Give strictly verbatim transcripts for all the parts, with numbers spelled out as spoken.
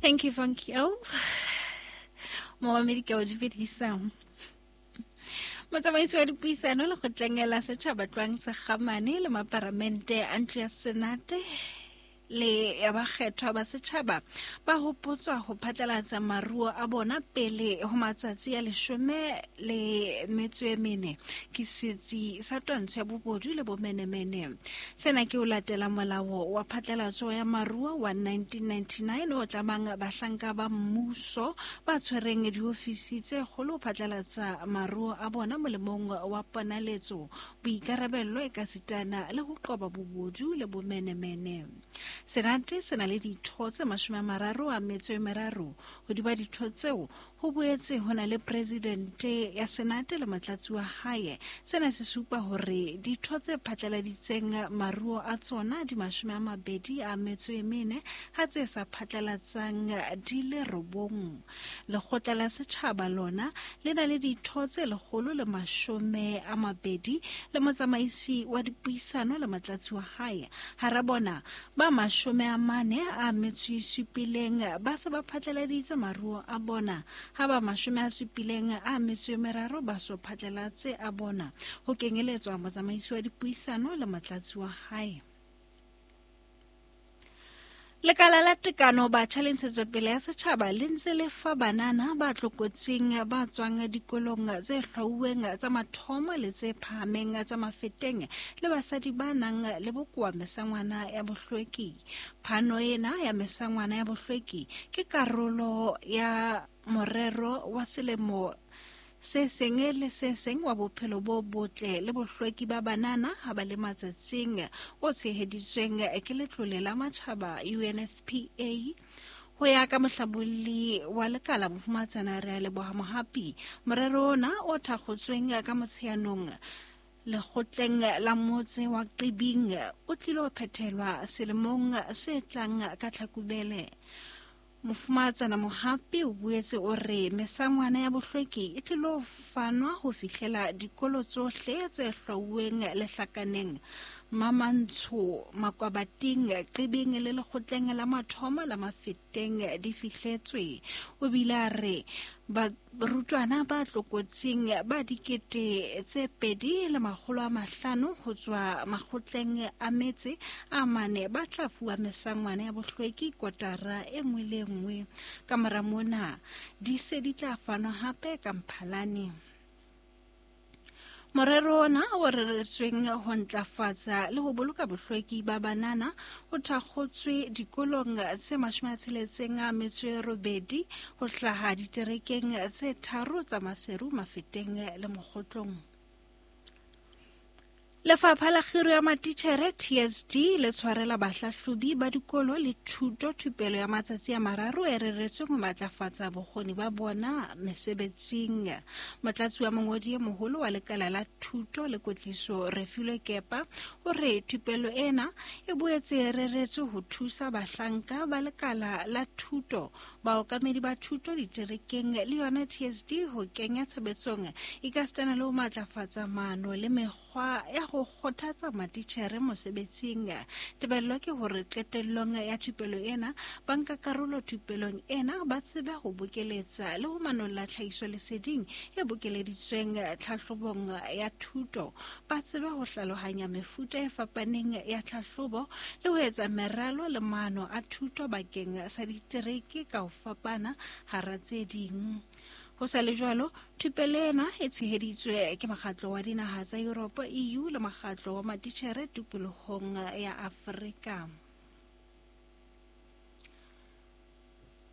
Thank you, Funky O. Momamedi ke o dumedisa. Motsamaisi wa dipuisano lekgotleng la setjhaba Tloang Sekgamane le maparamente a ntlo ya Senate le ya bakgethwa ba setjhaba ba hopotswa ho phatlalatsa maruo a bona pele ho matsatsi a leshome le metso e mene ke setsi sa twantsho ya bobodu le bomenemene. Sena ke ho latela molao wa phatlalatso ya maruo wa nineteen ninety-nine o tlamang bahlanka ba mmuso ba tshwereng diofisi tse kgolo ho phatlalatsa maruo a bona molemong wa ponaletso, boikarabello ekasitana le ho qoba bobodu le bomenemene. Senate se na le ditho tse mashome a mararo a metso e meraro. Hodima ditho tseo ho boetse ho na le presidente ya Senate le motlatsi wa hae. Sena se supa hore ditho tse phatlaladitseng maruo a tsona di mashome a mabedi a metso e mene, ha tse sa phatlalatsang di le robong. Lekgotla la setjhaba lona le na le ditho tse lekgolo le mashome a mabedi le motsamaisi wa dipuisano le motlatsi wa hae. Hara bona ba mashome a mane a metso e supileng ba se ba phatlaladitse maruo a bona, ha ba mashome a supileng a metso e meraro ba so phatlalatse a bona, ho kenyeletswa motsamaisi wa dipuisano le motlatsi wa hae. Lekala la tekano batjha le ntshetsopele ya setjhaba le ntse le fa banana ba tlokotsing ba tswang dikolong tse hlwauweng tsa mathomo le tse phahameng tsa Mafeteng le basadi ba nang le bokowa mesangwana ya bohlweki. Phano ena ya mesangwana ya bohlweki ke karolo ya morero wa selemo se seng le se seng wa bophelo bo botle le bohlweki ba banana ha ba le matsatsing o tsheheditsweng ke letlole la matjhaba U N F P A. Ho ya ka mohlabolli wa lekala Mofumatsana Rea Leboha Mohapi, morero ona o thakgotsweng ka Motsheanong lekgotleng la motse wa Qibing o tlilo phethelwa selemong se tlang ka Tlhakubele. Mofumatsana Mohapi o boetse o re mesangwana ya bohlweki e tlilo fanwa ho fihlela dikolo tsohle tse hlwauweng lehlakaneng Mamantsho, Makwabating, Qibing le lekgotleng la mathomo la Mafeteng di fihletswe. O bile a re barutwana ba tlokotsing ba dikete tse pedi le makgolo a mahlano ho tswa makgotleng a metse a mane ba tla fuwa mesangwana ya bohlweki kotara e nngwe le nngwe. Ka mora mona di se di tla fanwa hape ka Mphalane. Morero ona o reretsweng ho ntlafatsa le ho boloka bohlweki ba banana o thakgotswe dikolong tse mashome a tsheletseng a metso e robedi ho hlaha diterekeng tse tharo tsa Maseru, Mafeteng le Mokgotlong. Lefapha la Kgiro ya Matitjhere T S D le tshwarela bahlahlobi ba dikolo le thuto thupelo ya matsatsi a mararo e reretsweng ho matlafatsa bokgoni ba bona mesebetsing. Motlatsi wa mongodi e moholo wa lekala la thuto le kwetliso Refilwe Kepa o re thupelo ena e boetse e reretswe ho thusa bahlanka ba lekala la thuto, baokamedi ba thuto diterekeng le yona T S D ho kenya tshebetsong ekasitana le ho matlafatsa maano le mekgwa ya ho kgothatsa matitjhere mosebetsing. Tebello ke hore qetellong ya thupelo ena banka karolo thupelong ena ba tsebe ho bokeletsa le ho manolla tlhahisoleseding e bokeleditsweng tlhahlobong ya thuto, ba tsebe ho hlalohanya mefuta e fapaneng ya tlhahlobo le ho etsa meralo le maano a thuto bakeng sa ditereke ka ho fapana hara tse ding. Ho sa le jwalo, thupelo ena e tsheheditswe ke mokgatlo wa dinaha tsa Yuropa E U le mokgatlo wa matitjhere tikolohong ya Afrika.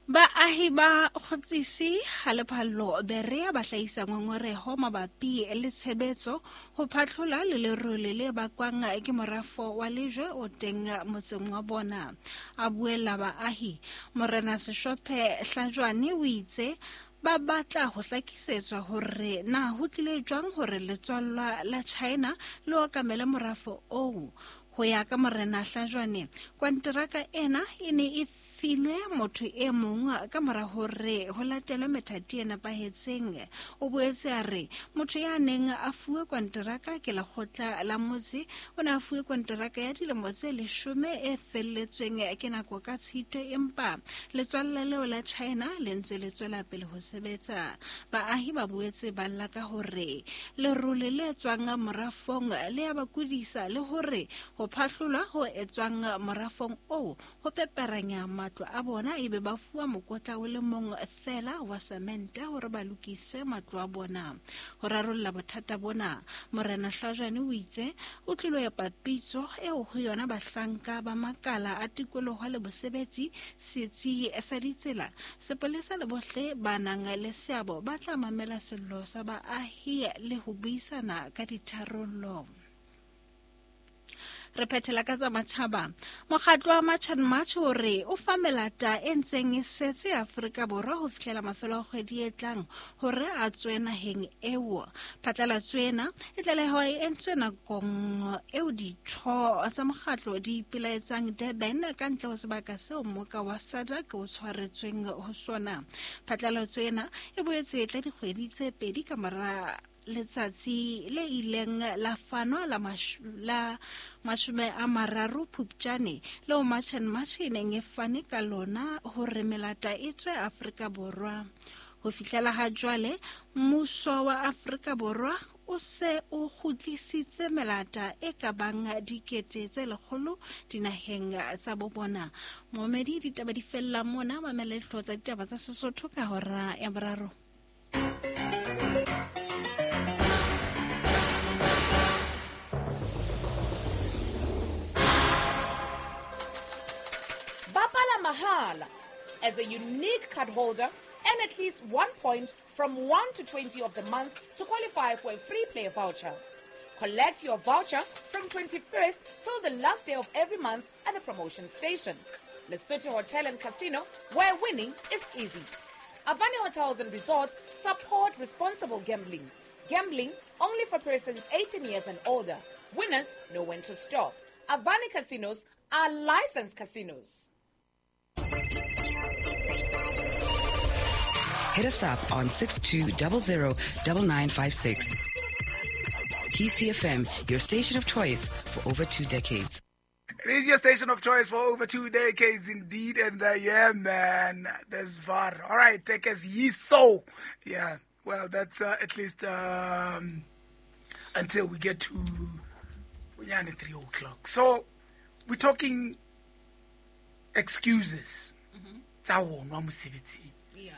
Baahi ba Kgotsisi ha Lephallo Berea ba hlahisa ngongoreho mabapi le tshebetso ho phatlhola le lerole le bakwang ke morafo wa lejwe o teng motseng wa bona. A buella baahi, Morena Seshophe Hlajwane o itse ba batla ho hlakisetswa hore na ho tlile jwang hore letswallwa la China le okamele morafo oo. Ho ya ka Morena Hlajwane, konteraka ena e ne e filwe motho e mong ka mora hore ho latelwe methati e nepahetseng. O boetse a re motho ya neng a fuwe konteraka ke lekgotla la motse o ne a fuwe konteraka ya dilemo tse leshome e felletsweng ke nako ka Tshitwe, empa letswalle leo la China le ntse le tswela pele ho sebetsa. Baahi ba boetse ba lla ka hore lerole le tswang morafong le ya ba kudisa le hore ho phahlolwa ho etswang morafong oo ho peperanya matlo a bona ebe ba fuwa mokotla o le mong fela wa semente hore ba lokise matlo a bona. Ho rarolla bothata bona, Morena Hlajane o itse o tlilo epa pitso eo ho yona bahlanka ba makala a tikoloho le bosebetsi, setsi sa ditsela, sepolesa le bohle ba nang le seabo ba tla mamela sello sa baahi le ho buisana ka ditharollo. Re phethela ka tsa matjhaba. Mokgatlo wa March and March o re o fa melata e ntseng e setse Afrika Borwa ho fihlela mafelo a kgwedi e tlang hore a tswe naheng eo. Phatlalatso ena e tlaleho e entswe nakong eo ditho tsa mokgatlo di ipelaetsang Durban ka ntle ho sebaka seo mmoka wa SADC o tshwaretsweng ho sona. Phatlalatso ena e boetse e tla dikgwedi tse pedi ka mora letsatsi le ileng la fanwa la la mashome a mararo Phupjane leo March and March e neng e fane ka lona hore melata e tswe Afrika Borwa. Ho fihlela ha jwale mmuso wa Afrika Borwa o se o kgutlisitse melata e ka bang dikete tse lekgolo dinaheng tsa bo bona. Momedi, ditaba di fella mona. Mamela dihlooho tsa ditaba tsa Sesotho ka hora ya boraro. Mahala as a unique card holder and at least one point from one to twenty of the month to qualify for a free play voucher. Collect your voucher from twenty-first till the last day of every month at the promotion station. Lesotho Hotel and Casino, where winning is easy. Avani Hotels and Resorts support responsible gambling. Gambling only for persons eighteen years and older. Winners know when to stop. Avani Casinos are licensed casinos. Hit us up on six two zero zero nine nine five six. P C F M, your station of choice for over two decades. It is your station of choice for over two decades indeed. And uh, yeah, man, there's V A R. All right, take us ye so. Yeah, well, that's uh, at least um, until we get to three o'clock. So we're talking excuses. Mm-hmm. Yeah.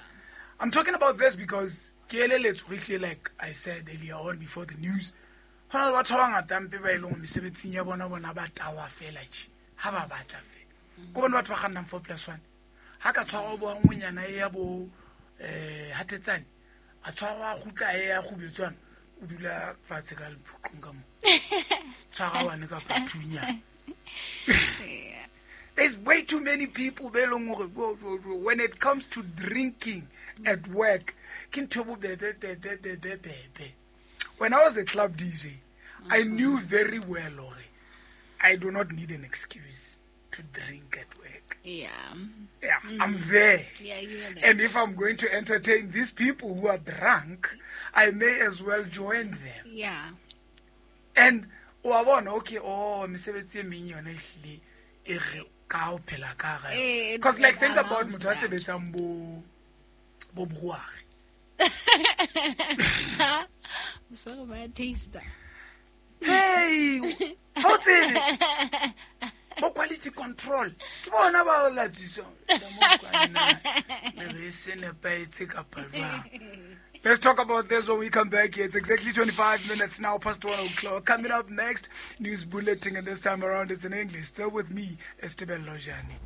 I'm talking about this because, like I said earlier on before the news, ho na le batho ba bangata mpe ba e leng mesebetsing ya bona bona ba tawa fela tje ha ba batla fela ko bona batho ba kgannang four plus one ha ka tshwarwa bo ngwenyana e ya bo eh hatetsane a tshwarwa kgutla e ya kgubetswana o dula fatshe ka lephuqong ka mo tshwara wane ka pathunya. There's way too many people be leng hore when it comes to drinking at work ke ntho bo bebe bebe bebe bebe. When I was a club D J, mm-hmm. I knew very well, Lori, I do not need an excuse to drink at work. Yeah. Yeah, mm-hmm. I'm there. Yeah, you're there. And if I'm going to entertain these people who are drunk, I may as well join them. Yeah. And, oh, I want, okay, oh, mesebetsi e meng yona ehlile e re ka o phela ka hare. Because, like, think about motho a sebetsang bo, bo brewery. So bad taste. Hey, how it? Bo quality control. Ke bona ba latisang. Let's talk about this when we come back here. It's exactly twenty-five minutes now past one o'clock. Coming up next, news bulletin, and this time around it's in English. Still with me, Estebel Lojani.